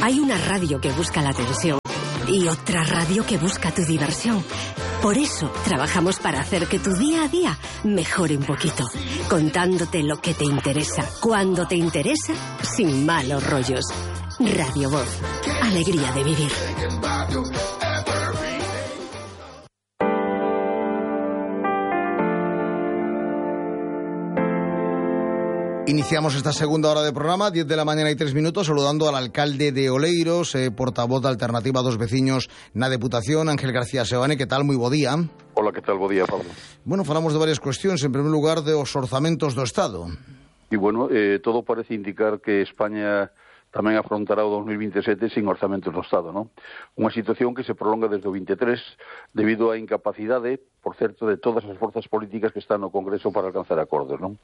Hay una radio que busca la atención y otra radio que busca tu diversión. Por eso trabajamos para hacer que tu día a día mejore un poquito, contándote lo que te interesa, cuando te interesa, sin malos rollos. Radio Voz, alegría de vivir. Iniciamos esta segunda hora de programa, 10 de la mañana y 3 minutos, saludando al alcalde de Oleiros, portavoz da Alternativa dos Veciños na Deputación, Ángel García Seoane. Que tal? Moi bo día. Hola, que tal? Bo día, Pablo. Bueno, falamos de varias cuestións. En primer lugar, de os orzamentos do Estado. E, bueno, todo parece indicar que España tamén afrontará o 2027 sin orzamentos do Estado, non? Unha situación que se prolonga desde o 23 debido á incapacidade, por certo, de todas as forzas políticas que están no Congreso para alcanzar acordos, non?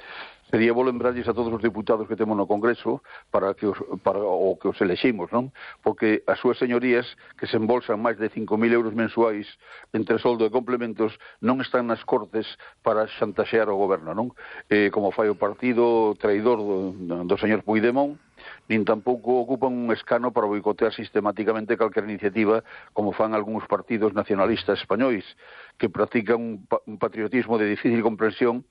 Sería bo lembrarlles a todos os diputados que temos no Congreso para que os eleximos, non? Porque as súas señorías, que se embolsan máis de 5.000 euros mensuais entre soldo e complementos, non están nas Cortes para xantaxear o goberno, non? Como fai o partido traidor do señor Puigdemont, nin tampouco ocupan un escano para boicotear sistemáticamente calquera iniciativa como fan algúns partidos nacionalistas españois que practican un patriotismo de difícil comprensión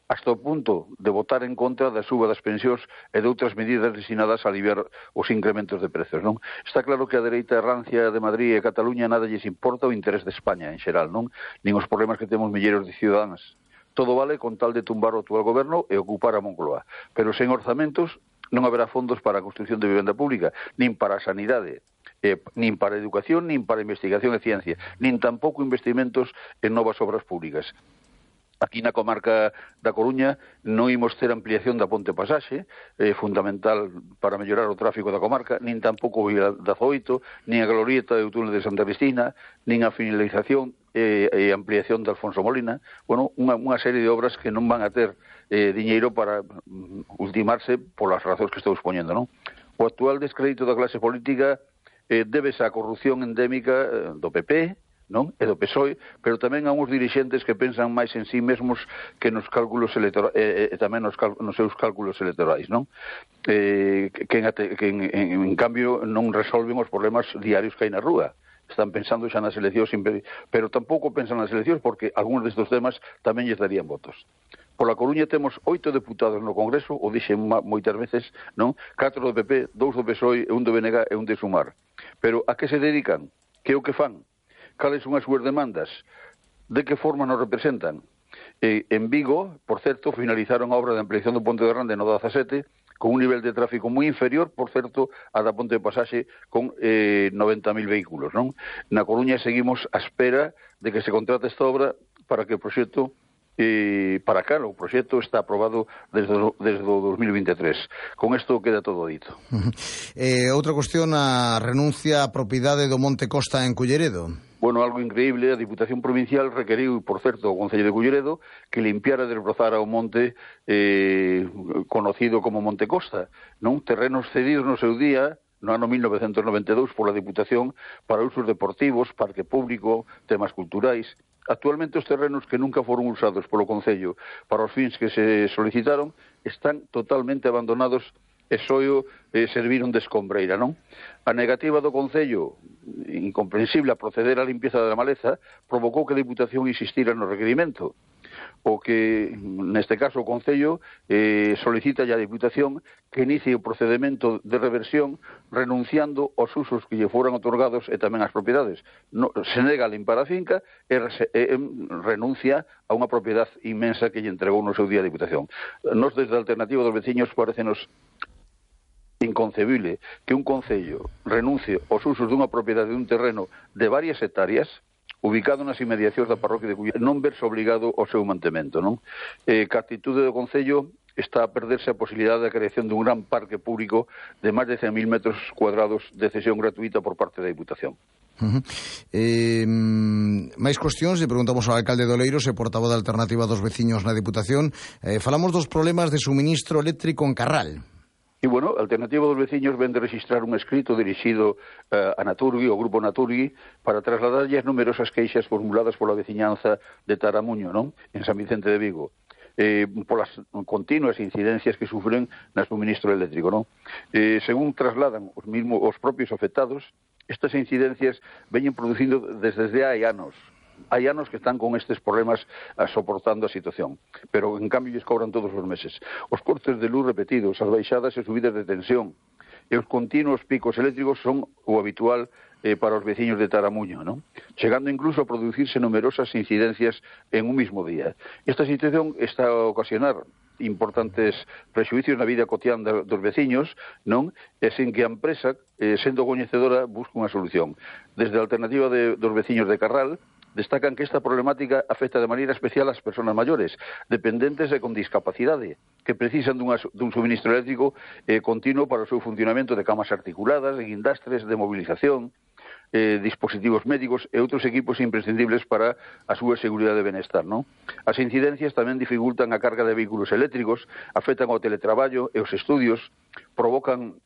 hasta o punto de votar en contra da suba das pensións e de outras medidas destinadas a aliviar os incrementos de prezos, non? Está claro que a dereita rancia de Madrid e Cataluña nada lles importa o interés de España en xeral, non? Nin os problemas que temos milleiros de cidadáns. Todo vale con tal de tumbar o actual goberno e ocupar a Moncloa. Pero sen orzamentos non haberá fondos para a construción de vivenda pública, nin para a sanidade, nin para a educación, nin para a investigación e ciencia, nin tampouco investimentos en novas obras públicas. Aquí na comarca da Coruña non imos ter ampliación da Ponte Pasaxe, fundamental para mellorar o tráfico da comarca, nin tampouco o Vila da Zoito, nin a glorieta do túnel de Santa Cristina, nin a finalización e ampliación de Alfonso Molina. Bueno, unha serie de obras que non van a ter diñeiro para ultimarse polas razóns que estou expoñendo, non? O actual descrédito da clase política débese á corrupción endémica do PP, non? E do PSOE, pero tamén a uns dirixentes que pensan máis en sí mesmos que nos cálculos electorais e tamén nos seus cálculos electorais, non? Que en cambio non resolven os problemas diarios que hai na rúa. Están pensando xa nas eleccións, pero tampouco pensan nas eleccións porque algúns destes temas tamén lles darían votos. Pola Coruña temos 8 deputados no Congreso, o dixen moitas veces, non? 4 do PP, 2 do PSOE, 1 do BNG e 1 de Sumar. Pero a que se dedican? Que é o que fan? Cales son as súas demandas? De que forma nos representan? En Vigo, por certo, finalizaron a obra de ampliación do Ponte de Rande no 17, con un nivel de tráfico moi inferior, por certo, a da Ponte de Pasaxe con 90.000 vehículos, non? Na Coruña seguimos á espera de que se contrate esta obra para que o proxecto para cá, o proxecto está aprobado desde o 2023. Con isto queda todo dito. Outra cuestión, a renuncia á propiedade do Monte Costa en Culleredo. Bueno, algo increíble, a Diputación Provincial requeriu, por certo, o Concello de Culleredo que limpiara e desbrozara o monte conocido como Monte Costa, non? Terrenos cedidos no seu día, no ano 1992, pola Diputación para usos deportivos, parque público, temas culturais. Actualmente os terrenos que nunca foron usados polo Concello para os fins que se solicitaron están totalmente abandonados e só serviron de escombreira, non? A negativa do Concello, incomprensible a proceder á limpieza da maleza, provocou que a Diputación insistira no requerimento. O que, neste caso, o Concello solicita a Diputación que inicie o procedimento de reversión renunciando aos usos que lle foran otorgados e tamén ás propiedades. Se nega a limpar a finca e renuncia a unha propiedade inmensa que lle entregou no seu día a Diputación. Nos, desde a Alternativa dos Veciños, parecenos inconcebible que un Concello renuncie aos usos dunha propiedade dun terreno de varias hectáreas ubicado nas inmediacións da parroquia de Culleredo, non verse obligado ao seu mantemento, non? Que a actitude do Concello está a perderse a posibilidade da creación dun gran parque público de máis de 100.000 metros cuadrados de cesión gratuita por parte da Diputación. Máis cuestións, e preguntamos ao alcalde de Oleiros e portavoz da Alternativa dos Veciños na Diputación. Falamos dos problemas de suministro eléctrico en Carral. E, bueno, a Alternativa dos Veciños ven de registrar un escrito dirixido a Naturgui, ao Grupo Naturgui, para trasladarlle as numerosas queixas formuladas pola veciñanza de Taramuño, non? En San Vicente de Vigo. polas continuas incidencias que sufren na suministro eléctrico, non? Según trasladan os propios afectados, estas incidencias veñen producindo desde hai anos. Hai anos que están con estes problemas soportando a situación, pero en cambio lles cobran todos os meses. Os cortes de luz repetidos, as baixadas e subidas de tensión e os continuos picos eléctricos son o habitual para os veciños de Taramuño, ¿no? Chegando incluso a producirse numerosas incidencias en un mismo día. Esta situación está a ocasionar importantes prexuicios na vida cotián dos veciños, non? E sen que a empresa, sendo coñecedora, busca unha solución. Desde a alternativa dos veciños de Carral, destacan que esta problemática afecta de maneira especial ás persoas maiores, dependentes e con discapacidade, que precisan dun suministro eléctrico continuo para o seu funcionamento de camas articuladas, de guindastres, de movilización, dispositivos médicos e outros equipos imprescindibles para a súa seguridade e benestar, non? As incidencias tamén dificultan a carga de vehículos eléctricos, afectan ao teletraballo e os estudios, provocan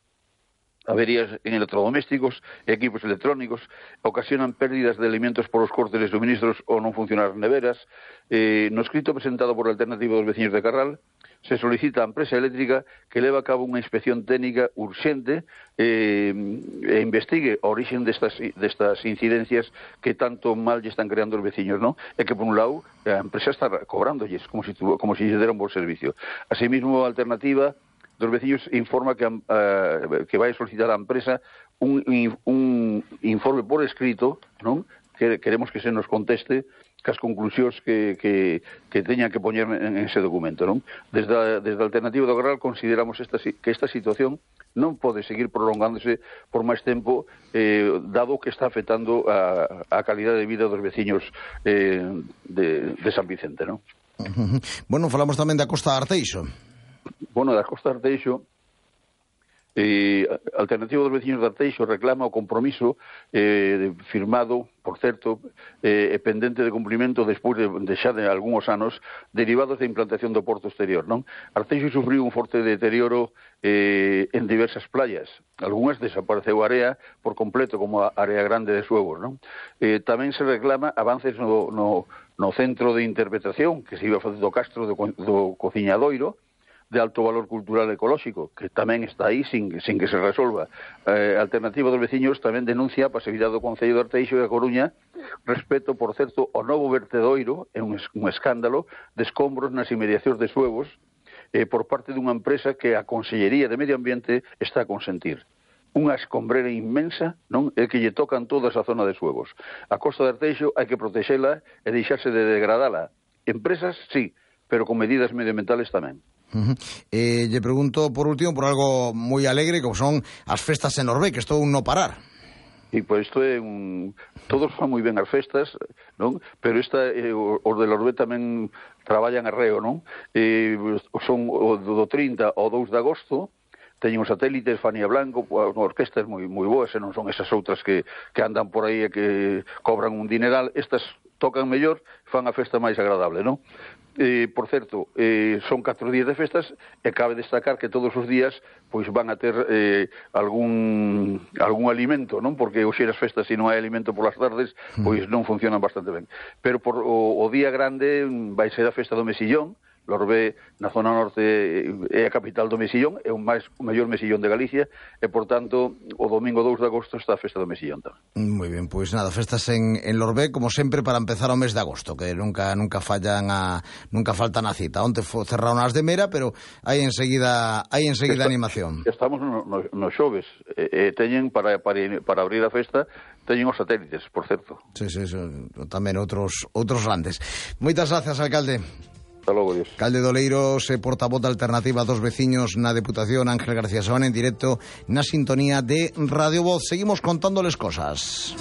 averías en electrodomésticos e equipos electrónicos, ocasionan pérdidas de alimentos por os cortes de suministros ou non funcionar neveras. No escrito presentado por a Alternativa dos Veciños de Carral, se solicita á empresa eléctrica que leve a cabo unha inspección técnica urxente e investigue a orixen destas incidencias que tanto mal lle están creando os veciños, non? E que, por un lado, a empresa está cobrándolles como se lle dera un bom servicio. Asimismo, a Alternativa dos veciños informa que vai solicitar á empresa un informe por escrito, non? Que queremos que se nos conteste cas conclusións que teñan que poñer en ese documento, non? Desde a Alternativa do Carral consideramos que esta situación non pode seguir prolongándose por máis tempo, dado que está afectando a calidade de vida dos veciños de San Vicente, non? Bueno, falamos tamén da Costa de Arteixo. Bueno, da Costa de Arteixo, a Alternativa dos Veciños de Arteixo reclama o compromiso firmado, por certo, pendente de cumprimento despois de xa de algúns anos, derivados da implantación do porto exterior, non? Arteixo sufriu un forte deterioro en diversas playas. Algúnas desapareceu a area por completo, como a área grande de Suevos, non? Tamén se reclama avances no centro de interpretación que se iba a facer do Castro do Cociñadoiro, de alto valor cultural e ecolóxico, que tamén está aí sin que se resolva. A Alternativa dos Veciños tamén denuncia a pasividade do Concello de Arteixo e a Coruña respecto, por certo, ao novo vertedoiro, é un escándalo, de escombros nas inmediacións de Suevos por parte dunha empresa que a Consellería de Medio Ambiente está a consentir. Unha escombrera inmensa, non? É que lle tocan toda esa zona de Suevos. A Costa de Arteixo hai que protexela e deixarse de degradala. Empresas, sí, pero con medidas medioambientales tamén. Lle pregunto, por último, por algo moi alegre, como son as festas en Orbe, que estou un no parar. E pois isto é todos fan moi ben as festas, non? Pero os de Orbe tamén traballan arreo, non? Son do 30 ao 2 de agosto, teñen os satélites, Fania Blanco, orquestas moi boas, e non son esas outras que andan por aí e que cobran un dineral. Estas tocan mellor, fan a festa máis agradable, non? Por certo, son 4 días de festas e cabe destacar que todos os días pois van a ter algún alimento, non? Porque hoxe as festas, se non hai alimento polas tardes, pois non funcionan bastante ben. Pero por o día grande vai ser a festa do Mesillón. Lorbe, na zona norte, é a capital do Mesillón, é o maior mesillón de Galicia, e, por tanto, o domingo 2 de agosto está a festa do Mesillón tamén. Moi ben, pois nada, festas en Lorbe, como sempre, para empezar o mes de agosto, que nunca faltan nunca faltan a cita. Onte cerraron as de Mera, pero hai enseguida animación. Estamos no xoves, teñen para abrir a festa, teñen os satélites, por certo. Sí, tamén outros grandes. Moitas gracias, alcalde. Hasta logo, Dios. Alcalde de Oleiros, portavoz da Alternativa dos Veciños na Deputación, Ángel García Sebane, en directo na sintonía de Radio Voz. Seguimos contándoles cosas.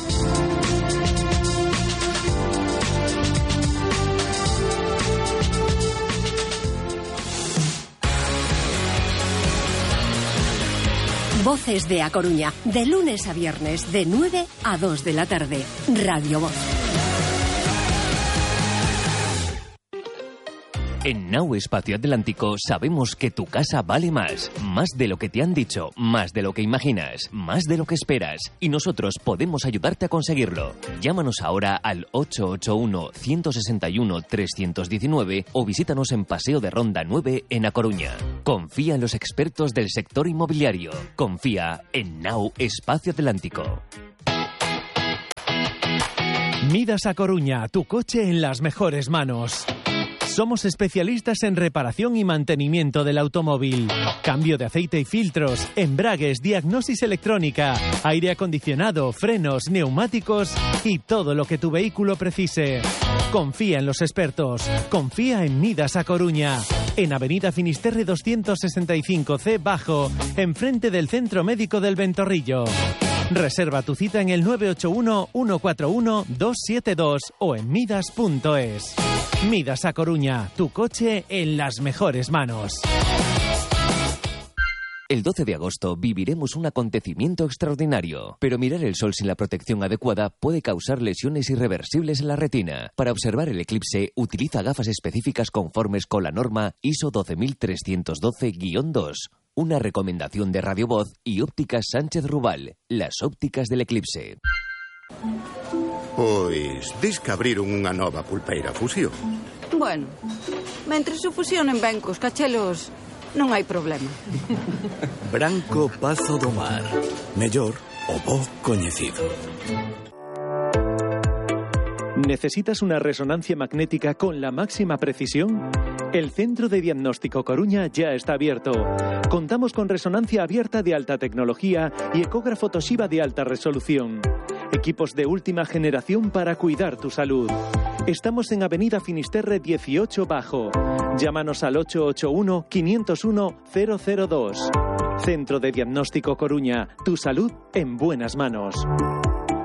Voces de A Coruña, de lunes a viernes, de 9 a 2 de la tarde. Radio Voz. En Now Espacio Atlántico sabemos que tu casa vale más. Más de lo que te han dicho, más de lo que imaginas, más de lo que esperas. Y nosotros podemos ayudarte a conseguirlo. Llámanos ahora al 881-161-319 o visítanos en Paseo de Ronda 9 en A Coruña. Confía en los expertos del sector inmobiliario. Confía en Now Espacio Atlántico. Midas A Coruña, tu coche en las mejores manos. Somos especialistas en reparación y mantenimiento del automóvil. Cambio de aceite y filtros, embragues, diagnosis electrónica, aire acondicionado, frenos, neumáticos y todo lo que tu vehículo precise. Confía en los expertos. Confía en Midas A Coruña. En Avenida Finisterre 265C Bajo, enfrente del Centro Médico del Ventorrillo. Reserva tu cita en el 981-141-272 o en midas.es. Midas A Coruña, tu coche en las mejores manos. El 12 de agosto viviremos un acontecimiento extraordinario, pero mirar el sol sin la protección adecuada puede causar lesiones irreversibles en la retina. Para observar el eclipse, utiliza gafas específicas conformes con la norma ISO 12312-2. Una recomendación de Radio Voz y Ópticas Sánchez Rubal, las ópticas del eclipse. Pois, dis que abriron unha nova pulpeira Fusión. Bueno, mentre se fusionen ben cos cachelos, non hai problema. Branco Pazo do Mar. Mellor o bo coñecido. ¿Necesitas una resonancia magnética con la máxima precisión? El Centro de Diagnóstico Coruña ya está abierto. Contamos con resonancia abierta de alta tecnología y ecógrafo Toshiba de alta resolución. Equipos de última generación para cuidar tu salud. Estamos en Avenida Finisterre 18 Bajo. Llámanos al 881-501-002. Centro de Diagnóstico Coruña. Tu salud en buenas manos.